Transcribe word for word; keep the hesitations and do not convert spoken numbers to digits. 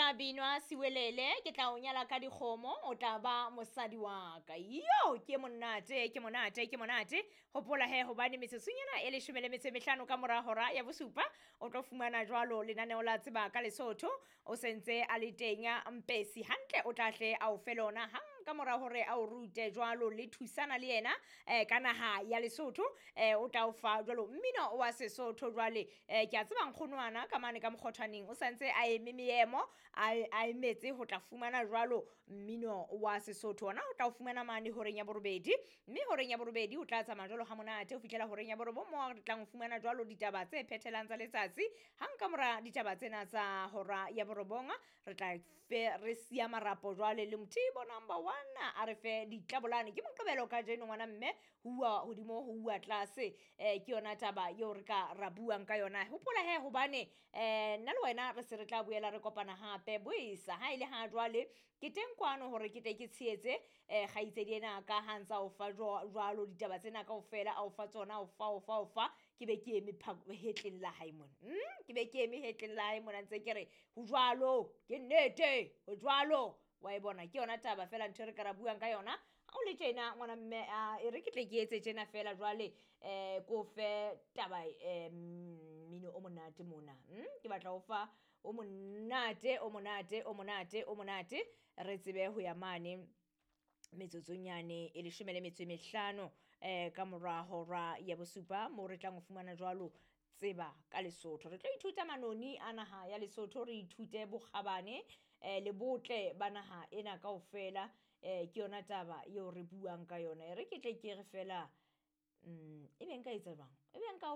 tla binwa Siwelele, ke tla o nyala ka dikgomo, o tla ba mosadi wa ka. Yo, ke monate, ke monate, ke monate. Hopola he hobane metsotsonyana e leshome le metso e mehlano ka mora hora ya bosupa, o tlo fumana jwalo lenaneo la Tseba ka Lesotho. O sentse a le teng Mpesi hantle, o tla hle a o fe lona hang ka mora hore a o rute jwalo le thusana le yena eh, ka naha ya Lesotho. eh, o tla o fa jwalo mmino wa Sesotho jwale. eh, ke a tseba nkgonwana ka mane ka mokgothwaneng o santse a eme meemo, a a emetse ho tla fumana jwalo mmino wa Sesotho. Ona o tla o fumana mane horeng ya borobedi, mme horeng ya borobedi o tla tsamaya jwalo ha monate ho fihlela horeng ya borobong, mo re tlang ho fumana jwalo ditaba tse phethelang tsa letsatsi. Hang ka mora ditaba tsena tsa hora ya borobong, re tla fe re siya marapo jwale le Mothibo number one a re fe ditlabolane. Ke Moqebelo kajeno ngwana mme, ho uwa hodimo ho uwa tlase. eh, ke yona taba eo re ka ra buang ka yona. Hopola he hobane eh, nna le wena re se re tla boela re kopana hape boisa. Ha ile ha jwale ke teng kwano hore ke tle ke tshehetse eh, kgaitsedi ena ka ha ntsa o fa jwalo ditaba tsena kaofela, a o fa tsona, o fa, o fa, o fa. Ke be ke eme hetleng la hae mona. Mm, ke be ke eme hetleng la hae mona ntse ke re ho jwalo, ke nnete, ho jwalo. Wa e bona, ke yona taba fela ntho e re ka ra buang ka yona. Ha o le tjena ngwana mme, e re ke tle ke etse tjena fela jwale, eh ko fe taba, eh mmino o monate mona. Mm, ke batla ho fa o monate, o monate, o monate, o monate, re tsebe ho ya mane metsotsonyane e leshome le metso e mehlano eh ka mora hora ya bosupa, mo re tlang ho fumana jwalo Tseba ka Lesotho. Re tlo ithuta manoni a naha ya Lesotho, re ithute bokgabane eh le botle ba naha ena kaofela. eh ke yona taba eo re buang ka yona. E re ke tle ke re fela, mm ebe nka etsa jwang, ebe nka